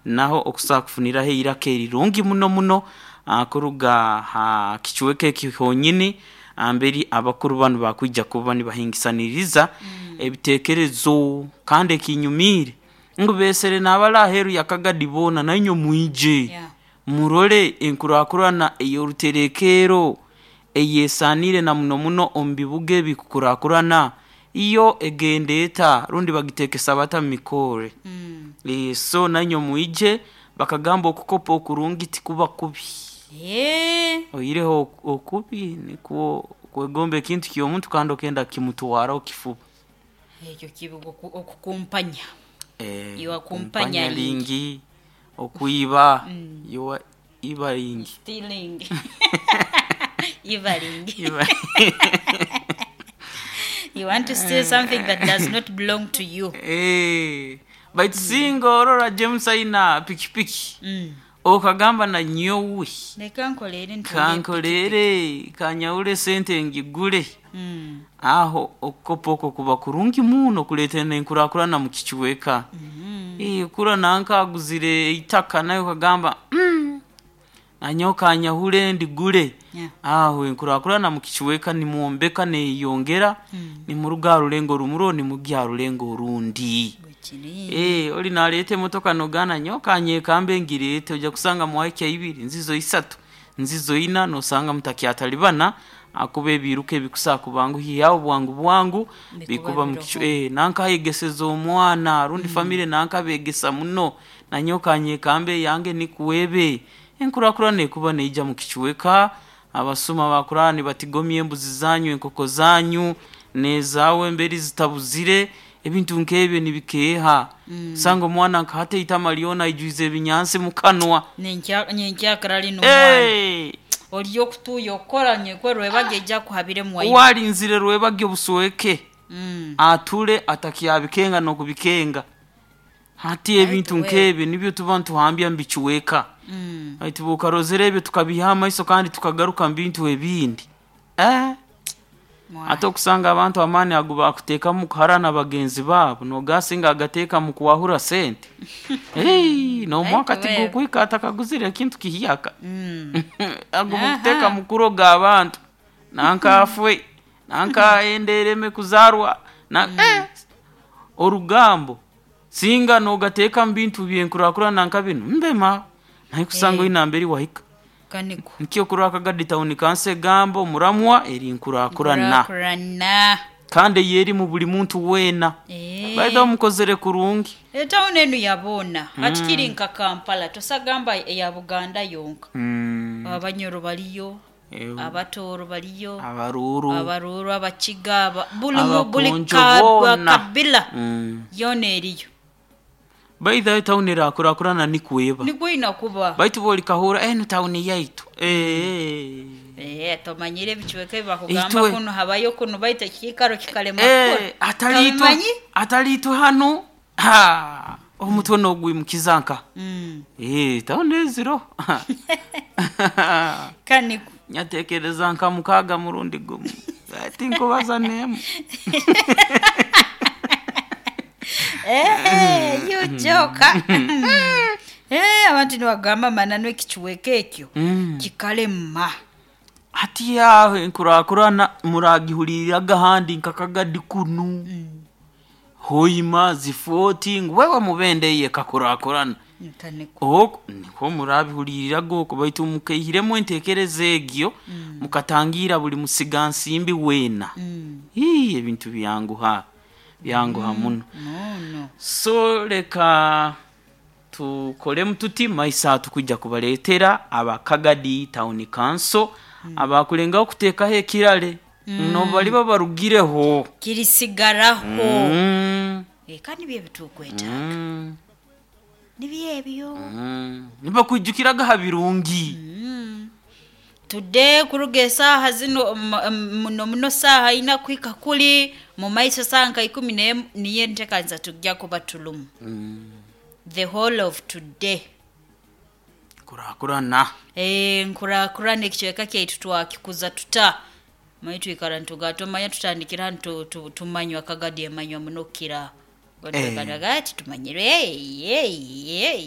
Naho okusobola kufuniraho eiraka erirungi muno muno kuruga ha kicweka eki honyini mberi abakuru banu bakwija kuba nibahingisaniriza ebiteekerezo. Kandi ekinyumiire ngu beesere n'abali aheeru ya Kagadi boona, nainywe mwije murole enkurakurana ey'oruterekeero eyesaaniire na muno muno omu bibuga ebikukurakurana yo egenda eta rundi bagiteekesa bata mu mikorre. So nainywe mwije. Bakagamba okukopa okurungi tikuba kubi. Oihireho okubi nikwo kwegomba ekintu ky'omuntu kandi okenda kukimutwaraho kifuba. Ekyo kibi okukumpanya. You are Kumpanya kumpanyaring. Lingi, okwiba, you are ibaring. Stealing. Ibaring. You want to steal something that does not belong to you. Baitu singa orora James aina pikipiki, okagamba na nyowe Leka nkoleere ntunge epikipiki. kankoleere kanyahule sente ngigule. Aho okukopa okwo kuba kurungi muno kuleetera n'enkurakurana mu kicweka. Kurora nanka aguzire eitaka nawe okagamba nanyowe kanyahule ndigule. Aho enkurakurana mu kicweka nimwombeka neeyeyongera, nimuruga ha rulengo rumu rwo nimugya ha rulengo orundi. Bwekiri. Ori nareeta emotoka nogamba nanyowe kanyekambe ngireete, oija kusanga mwahikya ibiri, nzizo isatu, nzizo ina, noosanga mutakyatalibana ahakuba ebiiruka ebikusobola kubanguhyaho bwangu bwangu Bikuba bikuba mu kicu biroho. Nanka ayegeseze omwana rundi famire nanka beegesa muno, nanyowe kanyekambe eyange nikwo ebe. Enkurakurana ekuba neija mu kicweka, abasuma bakurara nibatigomya embuzi zanyu, enkoko zanyu, n'ezaawe emberi zitabuzire, ebintu nk'ebyo nibikeeha. Osanga omwana nka hati eitama ryona aijwize ebinyansi mu kanwa. Nyenkyakara linu omwana. Ori okutuuya okukora nyekwe rwebagyo ija kuhabiremu waima. Owarinzire rwebagyo busweke, ature atakyabikenga n'okubikenga. Hati ebintu Baitu we. nk'ebyo nibyo tuba nituhambya mu bicweka. Baitu bw'okarozere ebyo tukabiiha amaiso kandi tukagaruka mu bintu ebindi. Mwana. Ate okusanga abantu amaani agu bakuteekamu kuharana bagenzi baabo, noogaa singa agateeka mu kwahura sente, n'omwaka Baitu we. tigukwika atakaguzire ekintu kihyaka. Agu mukuteeka Aha. mu kuroga abantu, nanka afwe, nanka enda ereme kuzaarwa, na orugambo singa noogateeka mu bintu by'enkurakurana nka binu, mbema naye kusanga oine nambere wahika. Kaniko. Nikyo okurora Kagadi Town Council egamba omuramwa eri nkurakurana. Nkurakurana. Kandi ey'erimu buli muntu weena. By the way mukozere kurungi. Etawuni enu ya boona. Hati kiri nka Kampala, tosagamba eya Buganda yonka. Abanyoro bariyo, Abatooro bariyo, Abaruuru, Abaruuru, Abakiga, buli buli Abakonjo boona. kabila yoona eriyo. By the way tawuni erakurakurana nikwo eba. Nikwo ina kuba. Baitu bw'orikahurra enu tawuni yaitu. Tomanyire ebicweka ebi bakugamba Itwe. kunu habayo kunu baitu ekiikaro kikalema kukora. Atari itwe Tobimanyi? atari itwe hanu ha, omutwe n'ogwimukiza nka. Tawuni eziro. Kaniko. Nyatekereza nka mukaaga murundi gumu. Tinkubaza n'emu. You joker. Abantu nibagamba mananu ekicweka ekyo kikalema. Hati aho enkurakurana muragihuriraga ahandi nka Kagadi kunu. Hoima, Zifooti ngu wewe mubende eyo ekakurakurana. Kaniko. Okwo nikwo murabihuriraga okwo baitu mukaihiremu enteekereza egyo, mukatangiira buli musigansimbi weena. Ebintu byanguha, byanguha muno. Muno. So leka tukolemu tuti maiso aha tukwija kubaleetera aba Kagadi Town Council abakulengaho kuteekaho ekirare n'obu baliba barugireho. Kirisigaraho. Kandi nibyo ebitukwetaaga. Nibyo ebyo. Nibakwijukiraga ha birungi. Today kuruga esaaha zino muno muno saaha ina kuhika kuri mu maiso saaha nka ikumi n'emu niyo enteekaniza tujja kuba turimu. The whole of today. Nkurakurana. Nkurakurana ekicweka kyaitu twakikuza tuta. Manye twikara nitugaa tomanya tutandikira hanu tumanywa Kagadi emanywa muno kukira aho. Ati tumanyire.